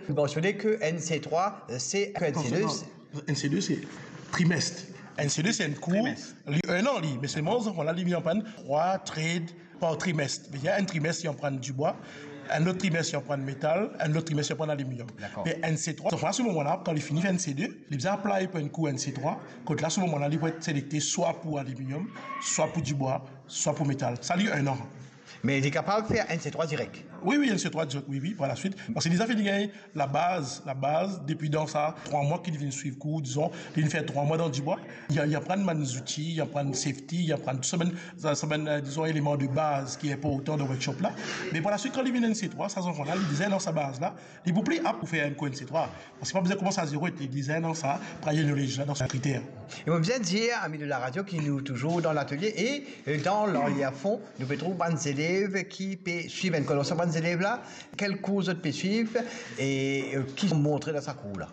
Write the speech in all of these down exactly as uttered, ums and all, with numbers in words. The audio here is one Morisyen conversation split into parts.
Ou mansione ke N C trois, euh, se ke N C deux. Non, non, N C deux, se trimest. N C deux, se enn kour, trimest, li enn an, li. Me selman, zanfan la, li vinn aprann trwa trade par trimest. Vedir, enn trimest, li aprann dibwa, enn lot trimest, li aprann metal, enn lot trimest, li aprann aliminiom. Dakor. Me N C trois, zanfan la, se moman la, kan li fini fer N C deux, li bizin apply pou enn kour N C trois, kot la, se moman la, li pou et selekte swa pou aliminiom, swa pou dibwa, swa pou metal. Sa, li enn an. Me li kapav fer N C trois direk? Wi, wi, N C trois direk, wi, wi, par laswit. Parski li deza fini gagn labaz, labaz, depi dan sa trwa mwa ki li vinn swiv kour, dizon, li vinn fer trwa mwa dan dibwa. Li, li aprann bann zouti, li aprann safety, li aprann tou sa bann, sa, sa bann, euh, dizon, eleman de baz ki inportan dan workshop la. Me par laswit, kan li vinn N C trois, sa zanfan la, li deza dan sa baz la, li pou pli apt pou fer enn kour N C trois. Parski pa bizin koumans a zero, li deza dan sa prior knowledge la, dan sa kriter. E mo bizin dir, ami de la radio, ki nou touzour dan latelie e, euh, dan Lanlier Fond, nou pe trouv bann zelev ki pe swiv enn kour. Sa bann zelev la, kel kour zot pe swiv e, euh, ki montre dan sa kour la?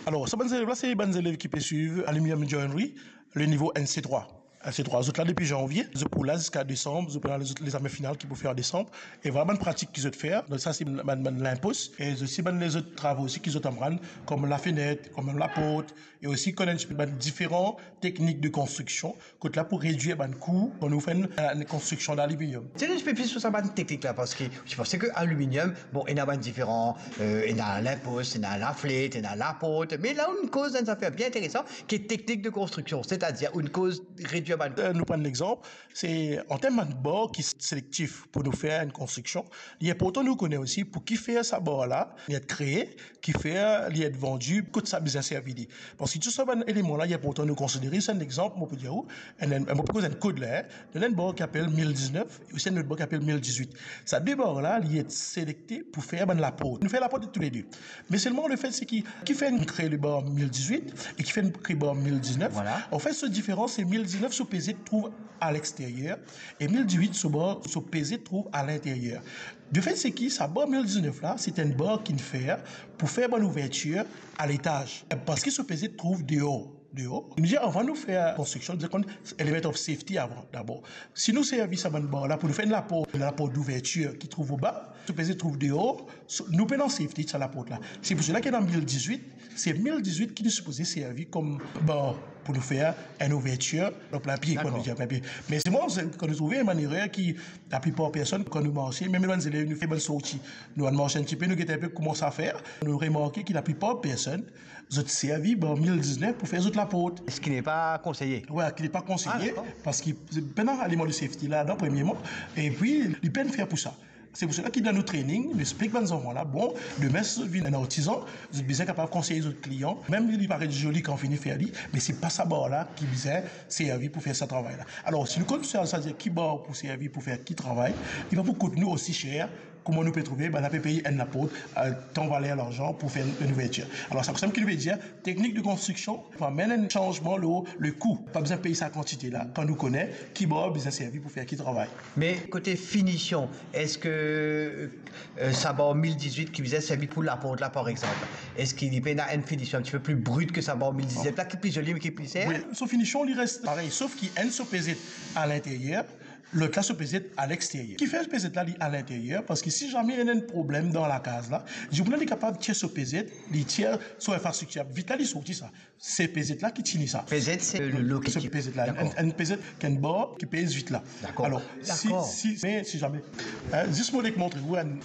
Alor, sa bann zelev la, se bann zelev ki pe swiv Aluminium Joinery, le nivo N C trois. N C trois, zot la depi zanvie, zot pou la ziska desanm, zot pou la lezame final ki pou fer an desanm. E vwala bann pratik ki zot fer. Donk sa se bann, bann linpos. E osi bann lezot travo osi ki zot aprann, kom lafenet, kom laport, e osi konn enn tipe bann diferan teknik de konstriksion, kot la pou redwir bann kou kan nou fer enn, enn konstriksion dan aliminiom. Dir nou enn tipe plis lor sa bann teknik la, parski mo panse ke aliminiom, bon, ena bann diferan, euh, ena linpos, ena laflet, ena laport, me la ou'nn koz enn zafer bien interesan, ki teknik de konstriksion, setadir ou'nn koz redwir bann... Euh, nou pran enn exanp, se an term bann bar ki selektif pou nou fer enn konstriksion, li inportan nou kone osi pou ki fer sa bar la, li et kree, ki fer li et vandi, kot sa bizin servi li. Parski tou sa bann eleman la, li inportan nou konsidere. Se enn exanp, mo pou dir ou, enn, enn, mo pou koz enn kod la, hein. Donn enn bar ki apel mil diznef, e osi enn lot bar ki apel mil dizwit. Sa de bar la, li et selekte pou fer bann laport. Nou fer laport toulede. Me selman lefet se ki, ki fer nou kre le bar mil dizwit e ki fer nou kre bar mil diznef. Vwala. Anfet, so diferans, se mil diznef, so peze trouv a lexteryer, e mil dizwit, so bar, so peze trouv a linteryer. Lefet se ki sa bar mil diznef la, se enn bar ki'nn fer pou fer bann ouvertir a letaz. Parski so peze trouv deor, deor. Nou dir, avan nou fer konstriksion, nou bizin konn element of safety avan, dabor. Si nou servi sa bann bar la pou nou fer enn laport, enn laport douvertir ki trouv oba, so peze trouv deor, so, nou pena safety sa laport la. Se pou sela ki ena mil dizwit, se mil dizwit ki nou sipoze servi kom bar pou nou fer enn ouvertir, dan plin pie, kan nou dir plin pie. Me selman, se, kan nou trouve enn bann erer ki laplipar personn, kan nou marse, mem bann zelev, nou fer bann sorti, nou al marse enn tipe, nou get inpe kouma sa fer, nou remarke ki laplipar personn, zot servi bar mil diznef pou fer zot laport. Ce qui n'est pas conseillé. Wi, ki n'est pas conseillé, ah, dakor, parski pena eleman de safety ladan, premierman, epi li pena fer pou sa. Se pou sela ki dan nou training, nou explik bann zanfan la, bon, demin si zot vinn enn artizan, zot bizin kapav konsey zot klian, mem si li paret zoli kan fini fer li, me se pa sa bar la ki bizin servi pou fer sa travay la. Alor, si nou konn sa, sa dir ki bar pou servi pou fer ki travay, li pa pou kout nou osi ser kouma nou pe trouve bann la pe pey enn laport, euh, tan valer larzan pou fer enn ouvertir. Alor, sa konsam ki nou pe dir, teknik de konstriksion, pou amenn enn sanzman lor le kou. Pa bizin pey sa kantite la, kan nou kone ki bar bizin servi pou fer ki travay. Me kote finision, eski, euh, sa bar mil dizwit ki bizin servi pou laport la, par exanp, eski li pena enn finision enn tipe pli brit ki sa bar mil dizwit la, ki pli zoli, me ki pli ser? Wi, so finision, li res parey, sof ki enn so peze a linteryer, lot la so peze a lexteryer. Ki fer peze la li a linteryer? Parski si zame ena enn problem dan lakaz la, dimoun la li kapav tir so peze, li tir so infrastriktir, vit la li sorti sa. Se peze la ki tini sa. Peze, se le, le ki... Se peze la, dakor, enn, enn peze ki enn bar ki pez vit la. Dakor. Alor, si, dakor, si, me si zame, hein, zis mo nek montre ou enn,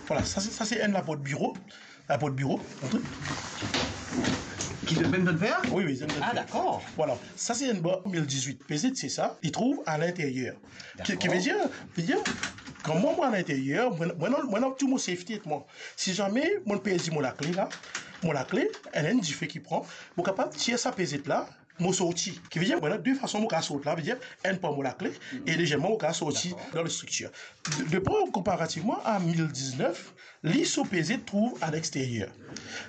vwala, sa se, sa se enn laport biro. Laport biro, montre. Ki zot mem zot fer? Wi, wi, zot mem zot fer. Ah, dakor. Vwala, sa se enn bar mil dizwit. Peze se sa, li trouv a linteryer. Ki, ki... Dakor. Vedir, vedir, kan mwa, mwa a linteryer, mwa, mwa, mwa, mwa ena tou mo safety ek mwa. Si zame mo perdi mo lakle la, mo lakle, ena enn dife ki pran, mo kapav tir sa peze la, mo sorti. Ki vedir, mwa ena de fason mo kapav sorti la, vedir, enn par mo lakle, e deziem mo kapav sorti, dakor, dan le striktir. De, de par konparativman a mil diznef, li so peze trouv a lexteryer.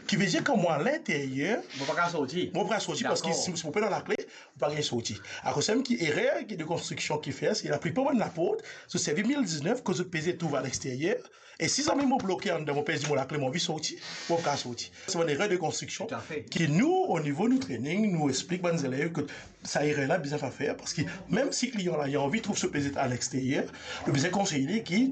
Ki vedir kan mwa a linteryer, mo pa kapav sorti. Mo pa kapav sorti, dakor, parski si, si mo pena lakle, mo pa gagn sorti. Akoz sa mem ki erer ki de konstriksion ki fer, se laplipar bann laport, zot servi mil diznef, kot zot peze trouv a lexteryer, e si zame mo bloke anndan, mo perdi mo lakle, mo anvi sorti, mo pa kapav sorti. Se bann erer de konstriksion. Toutafe. Ki nou, o nivo nou training, nou explik bann zelev ki sa erer la bizin pa fer, parski mem si klian la, li anvi trouv so peze a lexteryer, nou bizin konsey li ki